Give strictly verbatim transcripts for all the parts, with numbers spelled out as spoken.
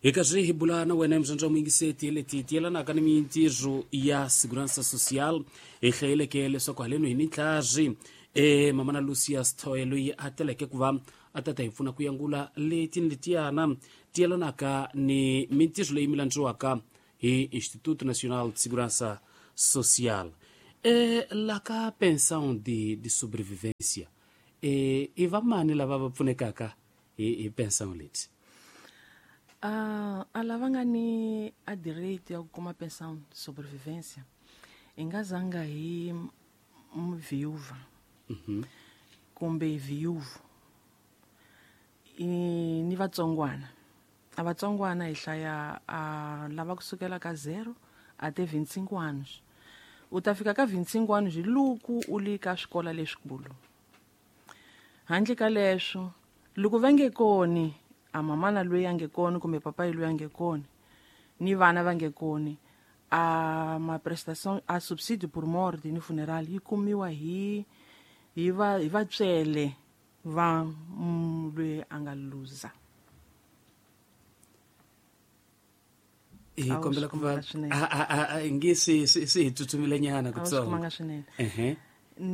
Hi karhi hi bula na wena muzandza muyingiseti leti ti yelanaka ni mintirho ya Segurança Social. Hi hlayeleke leswaku haleno hi ni ntlhazi e mamana Lucia Sithoye loyi a teleke ku va a tata hi pfuna ku yangula leti ni letiyana ti yelanaka ni mintirho leyi mi landziwaka hi Instituto Nacional de Segurança Social. E la ka pensão de, de sobrevivência, e i vamani lava va pfunekaka hi, hi pensão leti? Uh, a lava nga ni a direito ya ku kuma pensão de sobrevivência i nga zanga hi viúva mm-hmm. kumbe viúvo i ni vatsongwana. A vatsongwana hi hlaya a lava kusukela ka zero até vinte e cinco anos. U ta fika ka vinte e cinco anos hi loko u li ka swikola leswikulu. Handle ka leswo, loko va nge koni, a mamana loyi a nge koni kumbe papayi loyi a nge koni, ni vana va nge koni, a ma prestation a subsídio por morte ni funeral yi kumiwa hi hi va hi vatswele va loyi a nga luza. Hi kombela ku va a a nge se se hi tsutsumile nyana kutsongo. Ehe.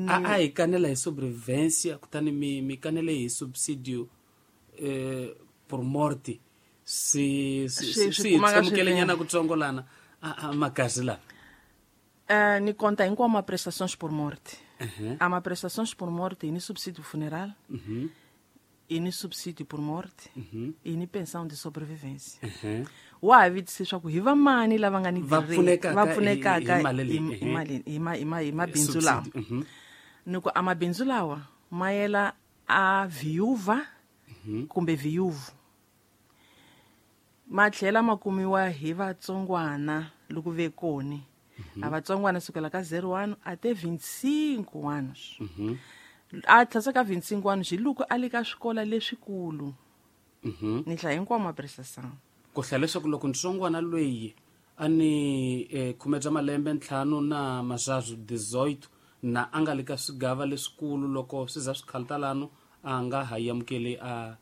A a hi kanela hi sobrevivência, kutani mi mi kanele hi subsídio eh por morte. Si si si tsamukele nyana kutsongo lana a makazi la. Eh ni conta hinkwawo ma prestações por morte. Uhum. A ma prestações por morte ni subsídio funeral. Uhum. E ni subsídio por morte. Uhum. E ni pensão de sobrevivência. Uhum. Wa vitise swa ku hi vamani lava nga ni va pfunekaka hi mali hi ma hi ma hi mabindzu lawa. Ni ku a mabindzu lawa ma yela a viúva kumbe viúvo. Ma tlhela ma kumiwa hi vatsongwana loko ve koni. A vatsongwana sukela ka zero one até vinte e cinco anos. A tlhasa ka vinte e cinco anos hi loko a le ka swikola leswikulu. Ni hlaya hinkwawo ma prestação. Ku hlaya leswaku loko ntsongwana loyi a ni eh, khume bya malembe ntlhanu na mazazu dezoito na a nga le ka swigava leswikulu, loko swi za swi khaltalano a nga ha amukeli a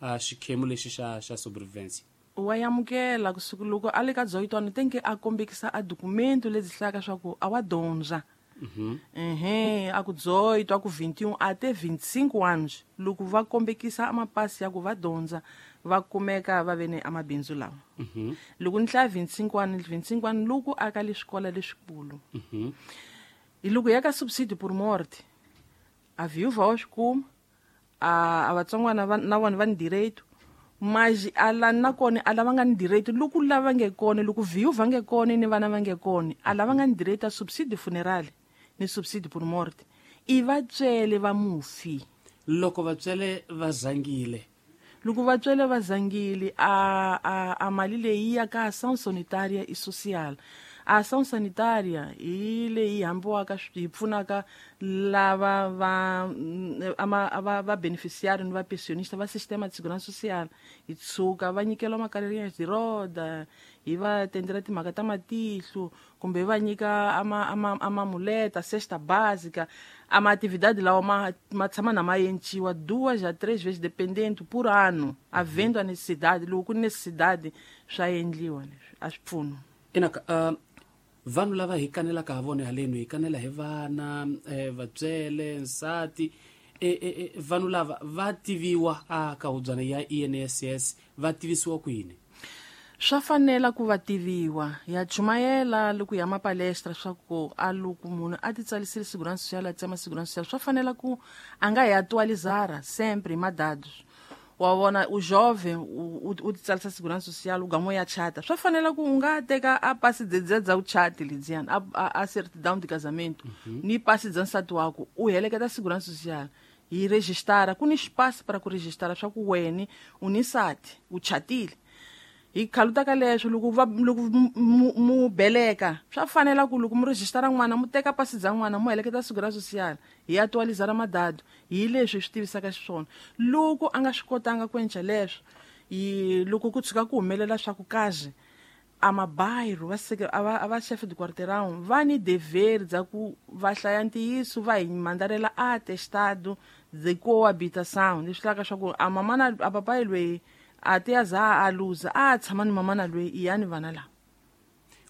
a xikhemu lexi xa xa sobrevivência. Wa amukela kusuka loko a le ka dezoito ano tem que a kombekisa a documento lebyi hlayaka swa ku a wa dyondza. Uhum. Ehe, a ku dezoito, a ku vinte e um até vinte e cinco anos, loko va kombekisa a mapasi ya ku va dyondza, va kumeka va ve ni amabindzu lawa. Uhum. Loko ni hlaya vinte e cinco anos, vinte e cinco anos loko a ka le swikola leswikulu. Uhum. Hi loko ya ka subsídio por morte, a viúva wa swi kuma, a a vatsongwana va na vona va ni direito, mas a la na kona a lava nga ni direito loko lava nge kona, loko viúva nge kona ni vana va nge kona, a lava nga ni direito a subsídio funeral ni subsídio por morte i vatswele va mufi. Loko vatswele va zangile, loko vatswele va zangile a a a mali leyi ya ka ação sanitária e social. A ação sanitária hi leyi hambiwaka yi pfunaka lava va ama va va beneficiário ni va pensionista va sistema de segurança social. Hi tshuka va nyikela makarhinya de roda, hi va tendela timhaka ta matihlo, kumbe va nyika ama ama ama muleta, cesta básica, ama atividade lawa ma ma tshama na ma enciwa duas a três vezes dependendo por ano, havendo a necessidade, loko ku necessidade swa endliwa leswi a swi pfuno. Inaka uh, vanhu lava hi kanelaka ha vona haleno hi kanela hi vana eh, vatswele nsati eh, eh, vanhu lava va tiviwa a ka hubyana ya I N S S va tivisiwa ku yini? Swa fanela ku va tiviwa ya chumayela loko ya mapalestra swa ku a loko munhu a ti tsalisile segurança social a tsema segurança social swa fanela ku a nga hi atualizara sempre madados. Wa vona u jovem u u ti tsalisa segurança social u gamo ya chata swa fanela ku u nga teka a pasi dzedzedza u chati ledziyana a a certidão de casamento ni pasi dza nsati wako u heleketa segurança social hi registara ku ni espaço para ku registara swa ku wena u ni nsati u chatile. Hi khaluta ka leswo loko va loko mu beleka swa fanela ku loko mu registara n'wana mu teka pasi dza n'wana mu heleketa segurança social hi atualizara madado hi leswi swi tivisaka xiswona. Loko a nga swi kotanga ku endla leswo hi loko ku tshuka ku humelela swa ku kazi a mabairro va seke a va a va chef de quarteirão va ni dever dza ku va hlaya ntiyiso va hi mandarela atestado de coabitação leswi hlaka swa ku a mamana a papai loyi A ti ya za a luza a tshama ni mamana loyi i ya ni vana lava.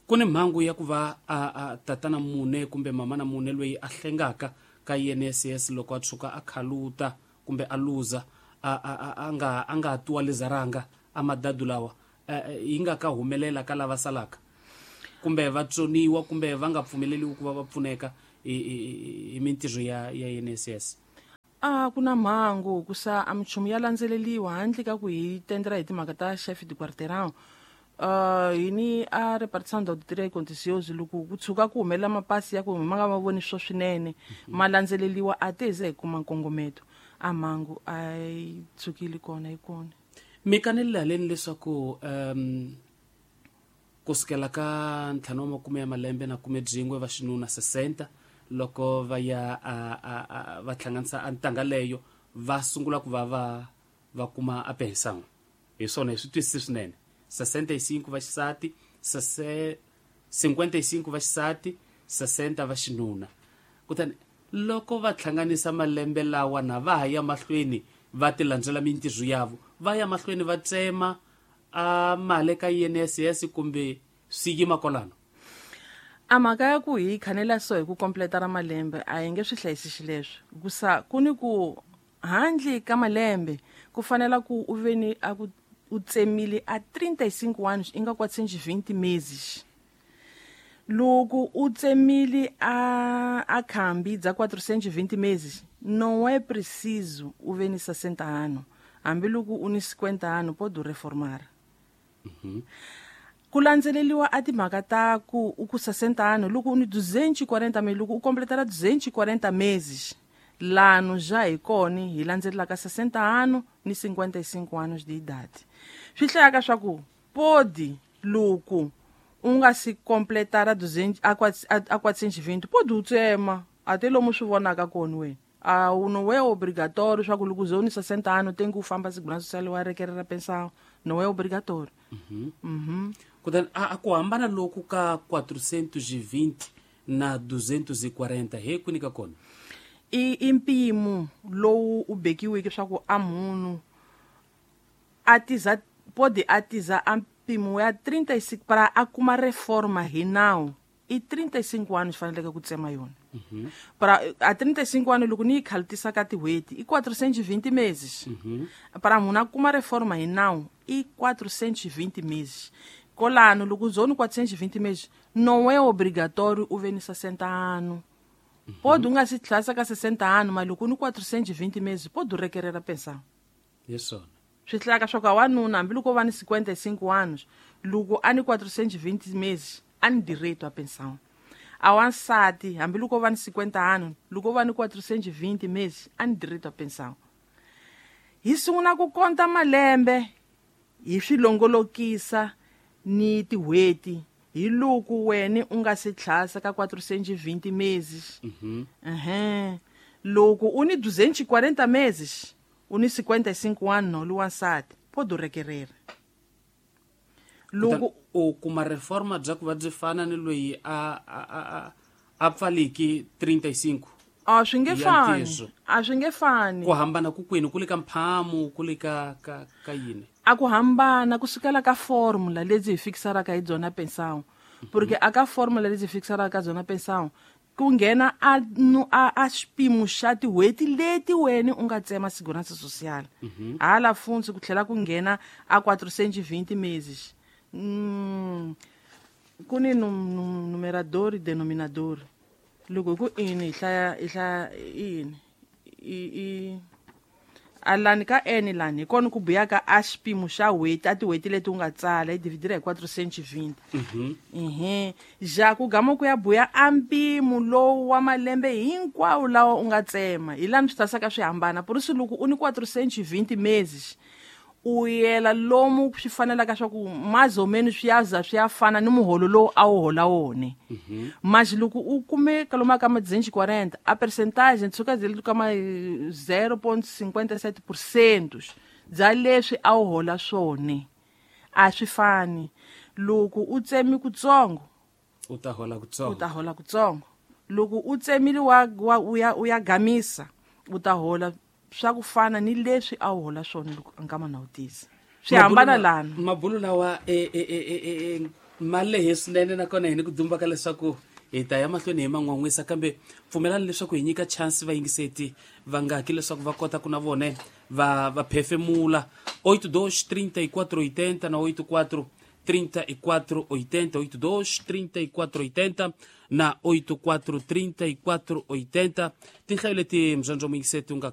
Ku ni mhangu ya ku va a, a tatana mune kumbe mamana mune loyi a hlengaka ka I N S S loko a tshuka a khaluta kumbe a luza a a a nga a nga tualizaranga a madadu lawa yi nga ka humelela ka lava salaka kumbe va tsoniwa kumbe va nga pfumeleliwi ku va va pfuneka hi mintirho ya ya I N S S. A ku na mhangu ku sa a minchumu ya landzeleliwa handle ka ku hi tendera hi timhaka ta chef de quartier. Uh, hi ni a repartição da auditoria e contencioso loko ku tshuka ku humelela mapasi ya ku ma nga va voni swo swinene ma landzeleliwa a te ze hi kuma nkongometo a mhangu a yi tshukile kona yi kona. Mi kanelile haleni leswaku um kusukela ka ntlhanu wa makume ya malembe na khume byin'we va xinuna sesenta loko va ya a, a, a, va hlanganisa a ntanga leyo va sungula ku va va va kuma a pensão. Hi swona hi swi twisisi swinene. sessenta e cinco va xisati, cinquenta e cinco va xisati, sessenta va xinuna. Kutani loko va hlanganisa malembe lawa na va ha ya mahlweni va ti landzela mintirho yavo, va ya mahlweni va tsema a mali ka I N S S kumbe swi yima kwalano. A mhaka ya ku hi khanela so hi ku completa ra malembe a hi nge swi hlayisi xileswo. Ku sa ku ni ku handle ka malembe ku fanela ku u ve ni a ku u tsemile a trinta e cinco anos inga quatrocentos e vinte meses. Loko u tsemile a a khambi dza quatrocentos e vinte meses, não é preciso u ve ni sessenta anos. Hambi loko u ni cinquenta anos pode reformar. Uhum. Ku landzeleliwa a timhaka ta ku u ku sessenta anos loko u ni duzentos e quarenta meses, loko u completara duzentos e quarenta meses, lano já hi kona hi landzelelaka sessenta anos ni cinquenta e cinco anos de idade. Swi hlayaka swa ku podi loko u nga si completara duzentos a quatrocentos e vinte podi u tsema a te lomu swi vonaka kona wena. A u não é obrigatório swa ku loko u ze u ni sessenta anos tem ku famba segurança social wa requerer pensão, não é obrigatório. Uhum. Uhum. Kutani a ku hambana loku ka quatrocentos e vinte na duzentos e quarenta he kwini ka kona? I i mpimo lowu u bekiweke swa ku a munhu a tiza pode a tiza a mpimo ya trinta e cinco para a kuma reforma hi nawu i trinta e cinco anos faneleke ku tsema yona. Uhum. Para a trinta e cinco anos loko ni yi khalutisa ka tin'hweti i quatrocentos e vinte meses. Uhum. Para munhu a kuma reforma hi nawu i quatrocentos e vinte meses. Kolano loko u ni quatrocentos e vinte meses não é obrigatório u ve ni sessenta anos. Pode u nga si tlhasa ka sessenta anos, mas loko u ni quatrocentos e vinte meses pode u requerer a pensão. Hi swona. Swi hlayaka swa ku a wanuna hambi loko o va ni cinquenta e cinco anos, loko a ni quatrocentos e vinte meses a ni direito à pensão. A wansati hambi loko o va ni cinquenta anos, loko o va ni quatrocentos e vinte meses a ni direito à pensão. Hi sungula ku konta malembe hi swi longolokisa ni tin'hweti hi loko wena u nga si tlhasa ka quatrocentos e vinte meses. Uhum. Uhum. Loko u ni duzentos e quarenta meses, u ni cinquenta e cinco anos no wansati, pode requerer. Loko u kuma reforma bya ku va byi fana ni loyi a a a a pfaliki trinta e cinco. A swi nge fani. A swi nge fani. Ku hambana ku kwini, ku le ka mphamu, ku le ka ka ka yini? A ku hambana ku sukela ka formula lebyi hi fikisaraka hi byona pensão. Porque a ka formula lebyi hi fikisaraka ka byona pensão ku nghena a a a xipimo xa tin'hweti leti wena u nga tsema segurança social. Hala funtsi ku tlhela ku nghena a quatrocentos e vinte meses. Mm, ku ni num, numerador e denominador. Loko ku ini hi hlaya hi hlaya ini i i alani ka n lani hi kona ku buyaka a xipimo xa n'hweti a tin'hweti leti u nga tsala hi dividira hi quatrocentos e vinte. Mhm. Ehe, ja ku gama ku ya buya a mpimo lowu wa malembe hinkwawo lawa u nga tsema hi lani swi tasaka swi hambana. Por isso loko u ni quatrocentos e vinte meses u yela lomu swi fanelaka swa ku mais ou menos swi ya za swi ya fana ni muholo lowu a wu hola wona. Mas loko u kume kalomu ka ma duzentos e quarenta, a percentage tshuka zeli ka ma zero ponto cinquenta e sete por cento bya leswi a wu hola swona a swi fani. Loko u tsemi kutsongo u ta hola kutsongo, u ta hola kutsongo. Loko u tsemile wa, wa u ya u ya gamisa u ta hola swa ku fana ni leswi a wu hola swona loko nkama na wu tisa. Swi hambana lana. Mabulu lawa e e e e e ma lehe swinene, nakona hi ni ku dumba ka leswaku hi ta ya mahlweni hi man'wan'wisa, kambe pfumelani leswaku hi nyika chance vayingiseti vangaki leswaku va kota ku na vone va va phefemula. Oito dois trinta e quatro oitenta na oito quatro trinta e quatro oitenta, oito dois trinta e quatro oitenta na oito quatro trinta e quatro oitenta. Tinhlayo leti mzandzo muyingiseti u nga